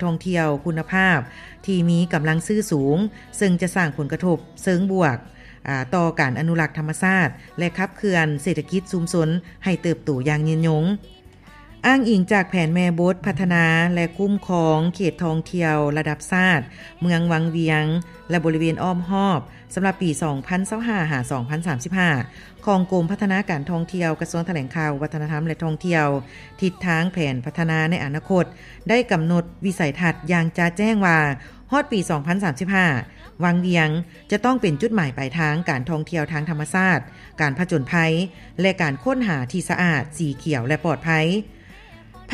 ທ່ອງທ່ຽວຄຸນນະພາບທີ່ມີກຳລັງຊື້ສູງ, ເຊິ່ງຈະສ້າງຜົນກະທົບເຊີງບວກ, ອາ, ຕໍ່ການອະນຸລັກທຳມະຊາດ ແລະ ຂັບເຄື່ອນເສດຖະກິດຊຸມຊົນໃຫ້ເຕີບໂຕຢ່າງຍືນຍົງ. ອ້າງອີງຈາກແຜນແມ່ບົດພັດທະນາ ແລະ ຄຸ້ມຄອງເຂດທ່ອງທ່ຽວລະດັບຊາດ ເມືອງວັງວຽງ ແລະ ບໍລິເວນອ້ອມຮອບ ສຳລັບປີສອງພັນຊາວຫ້າ ຫາ ສອງພັນສາມສິບຫ້າ ຂອງກົມພັດທະນາການທ່ອງທ່ຽວ ກະຊວງຖະແຫຼງຂ່າວ ວັດທະນະທຳ ແລະ ທ່ອງທ່ຽວ, ທິດທາງແຜນພັດທະນາໃນອະນາຄົດໄດ້ກຳນົດວິໄສທັດຢ່າງຈະແຈ້ງວ່າ ຮອດປີສອງພັນສາມສິບຫ້າ ວັງວຽງຈະຕ້ອງເປັນຈຸດໝາຍປາຍທາງການທ່ອງທ່ຽວທາງທຳມະຊາດ, ການຜະຈົນໄພ ແລະ ການຄົ້ນຫາທີ່ສະອາດ, ສີຂຽວ ແລະ ປອດໄພ.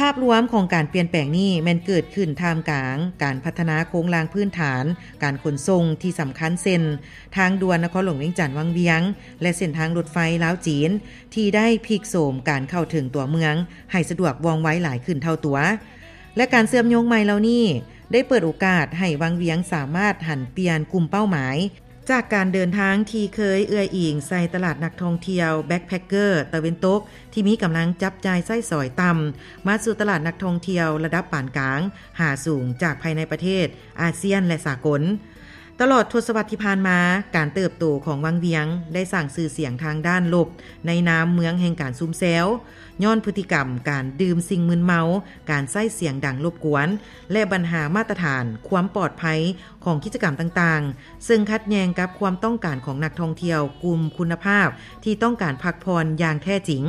ພາບລວມຂອງການປ່ຽນແປງນີ້ແມ່ນເກີດຂຶ້ນທ່າມກາງການພັດທະນາໂຄງລ່າງພື້ນຖານການຂົນສົ່ງທີ່ສຳຄັນ ເຊັ່ນ ທາງດ່ວນນະຄອນຫຼວງວຽງຈັນວັງວຽງ ແລະ ເສັ້ນທາງລົດໄຟລາວ-ຈີນ ທີ່ໄດ້ພິກໂສມການເຂົ້າເຖິງຕົວເມືອງໃຫ້ສະດວກວ່ອງໄວຫຼາຍຂຶ້ນເທົ່າຕົວ ແລະ ການເຊື່ອມໂຍງໃໝ່ເຫຼົ່ານີ້ໄດ້ເປີດໂອກາດໃຫ້ວັງວຽງສາມາດຫັນປ່ຽນກຸ່ມເປົ້າໝາຍ ຈາກການເດີນທາງທີ່ເຄີຍເອື້ອຍອີງໃສ່ຕະຫຼາດນັກທ່ອງທ່ຽວແບັກແພັກເກີຕາເວັນຕົກ ທີ່ມີກຳລັງຈັບຈ່າຍໃຊ້ສອຍຕ່ຳ ມາສູ່ຕະຫຼາດນັກທ່ອງທ່ຽວລະດັບປານກາງຫາສູງ ຈາກພາຍໃນປະເທດ, ອາຊຽນ ແລະ ສາກົນ. ຕະຫຼອດທົດສະວັດທີ່ຜ່ານມາ, ການເຕີບໂຕຂອງວັງວຽງໄດ້ສ້າງຊື່ສຽງທາງດ້ານລົບໃນນາມເມືອງແຫ່ງການຊຸມແຊວ, ຍ້ອນພຶດຕິກຳການດື່ມສິ່ງມຶນເມົາ, ການໃຊ້ສຽງດັງລົບກວນ ແລະ ບັນຫາມາດຕະຖານຄວາມປອດໄພຂອງກິດຈະກຳຕ່າງໆ ເຊິ່ງຂັດແຍ່ງກັບຄວາມຕ້ອງການຂອງນັກທ່ອງທ່ຽວກຸ່ມຄຸນນະພາບທີ່ຕ້ອງການພັກຜ່ອນຢ່າງແທ້ຈິງ.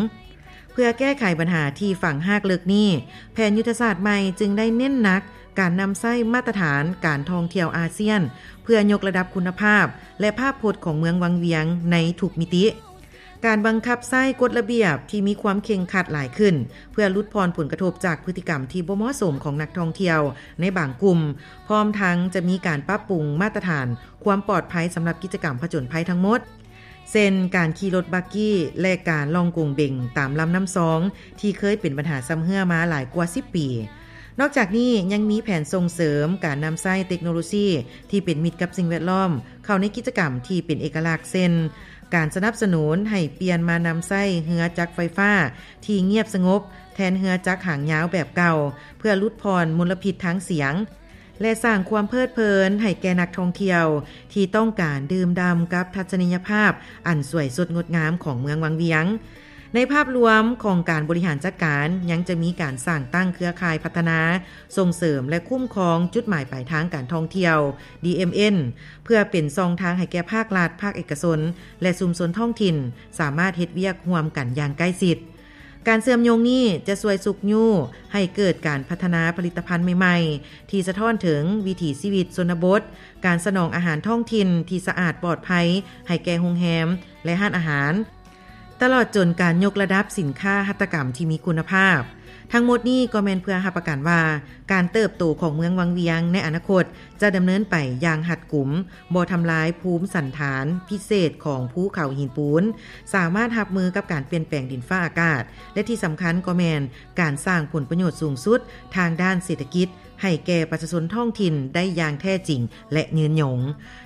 ເພື່ອແກ້ໄຂບັນຫາທີ່ຝັງຮາກເລິກນີ້, ແຜນຍຸດທະສາດໃໝ່ຈຶ່ງໄດ້ເນັ້ນໜັກການນຳໃຊ້ມາດຕະຖານການທ່ອງທ່ຽວອາຊຽນ ເພື່ອຍົກລະດັບຄຸນນະພາບ ແລະ ພາບພົດຂອງເມືອງວັງວຽງໃນທຸກມິຕິ. ການບັງຄັບໃຊ້ກົດລະບຽບທີ່ມີຄວາມເຄັ່ງຄັດຫຼາຍຂຶ້ນ ເພື່ອຫຼຸດຜ່ອນຜົນກະທົບຈາກພຶດຕິກຳທີ່ບໍ່ເໝາະສົມຂອງນັກທ່ອງທ່ຽວໃນບາງກຸ່ມ, ພ້ອມທັງຈະມີການປັບປຸງມາດຕະຖານຄວາມປອດໄພສຳລັບກິດຈະກຳຜະຈົນໄພທັງໝົດ ເຊັ່ນ ການຂີ່ລົດບັກກີ້ ແລະ ການລ່ອງກົງເບັງຕາມລຳນ້ຳຊອງ ທີ່ເຄີຍເປັນບັນຫາຊຳເຮື້ອມາຫຼາຍກວ່າສິບປີ. ນອກຈາກນີ້ຍັງມີແຜນສົ່ງເສີມການນຳໃຊ້ເຕັກໂນໂລຊີທີ່ເປັນມິດກັບສິ່ງແວດລ້ອມ ເຂົ້າໃນກິດຈະກຳທີ່ເປັນເອກະລັກ ເຊັ່ນ ການສະໜັບສະໜູນໃຫ້ປ່ຽນມານຳໃຊ້ເຮືອຈັກໄຟຟ້າທີ່ງຽບສະຫງົບ ແທນເຮືອຈັກຫາງຍາວແບບເກົ່າ ເພື່ອຫຼຸດຜ່ອນມົນລະພິດທາງສຽງ ແລະ ສ້າງຄວາມເພີດເພີນໃຫ້ແກ່ນັກທ່ອງທ່ຽວທີ່ຕ້ອງການດື່ມດ່ຳກັບທັດສະນີຍະພາບອັນສວຍສົດງົດງາມຂອງເມືອງວັງວຽງ. ໃນພາບລວມຂອງການບໍລິຫານຈັດການ ຍັງຈະມີການສ້າງຕັ້ງເຄືອຂ່າຍພັດທະນາ, ສົ່ງເສີມ ແລະ ຄຸ້ມຄອງຈຸດໝາຍປາຍທາງການທ່ອງທ່ຽວ ດີເອັມເອັນ ເພື່ອເປັນຊ່ອງທາງໃຫ້ແກ່ພາກລັດ, ພາກເອກະຊົນ ແລະ ຊຸມຊົນທ້ອງຖິ່ນ ສາມາດເຮັດວຽກຮ່ວມກັນຢ່າງໃກ້ຊິດ. ການເຊື່ອມໂຍງນີ້ຈະຊ່ວຍຊຸກຍູ້ໃຫ້ເກີດການພັດທະນາຜະລິດຕະພັນໃໝ່ໆ ທີ່ສະທ້ອນເຖິງວິຖີຊີວິດຊົນນະບົດ, ການສະໜອງອາຫານທ້ອງຖິ່ນທີ່ສະອາດປອດໄພໃຫ້ແກ່ໂຮງແຮມ ແລະ ຮ້ານອາຫານ, ຕະຫຼອດຈົນການຍົກລະດັບສິນຄ້າຫັດຖະກຳທີ່ມີຄຸນນະພາບ. ທັງໝົດນີ້ກໍແມ່ນເພື່ອຮັບປະກັນວ່າ ການເຕີບໂຕຂອງເມືອງວັງວຽງໃນອະນາຄົດຈະດຳເນີນໄປຢ່າງຮັດກຸມ, ບໍ່ທຳລາຍພູມສັນຖານພິເສດຂອງພູເຂົາຫີນປູນ, ສາມາດຮັບມືກັບການປ່ຽນແປງດິນຟ້າອາກາດ ແລະ ທີ່ສຳຄັນກໍແມ່ນການສ້າງຜົນປະໂຫຍດສູງສຸດທາງດ້ານເສດຖະກິດ ໃຫ້ແກ່ປະຊາຊົນທ້ອງຖິ່ນໄດ້ຢ່າງແທ້ຈິງ ແລະ ຍືນຍົງ.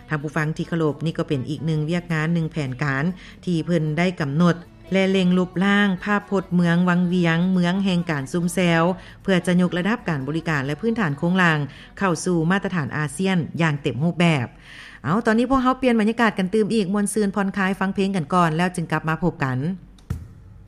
ທ່ານຜູ້ຟັງທີ່ເຄົາລົບ, ນີ້ກໍເປັນອີກໜຶ່ງວຽກງານ, ໜຶ່ງແຜນການທີ່ເພິ່ນໄດ້ກຳນົດ ແລະ ເລັ່ງລົບລ້າງພາບພົດເມືອງວັງວຽງ, ເມືອງແຫ່ງການຊຸມແຊວ, ເພື່ອຈະຍົກລະດັບການບໍລິການ ແລະ ພື້ນຖານໂຄງລ່າງເຂົ້າສູ່ມາດຕະຖານອາຊຽນຢ່າງເຕັມຮູບແບບ. ເອົາ, ຕອນນີ້ພວກເຮົາປ່ຽນບັນຍາກາດກັນຕື່ມອີກ, ມ່ວນຊື່ນຜ່ອນຄາຍ, ຟັງເພງກັນກ່ອນ, ແລ້ວຈຶ່ງກັບມາພົບກັນ.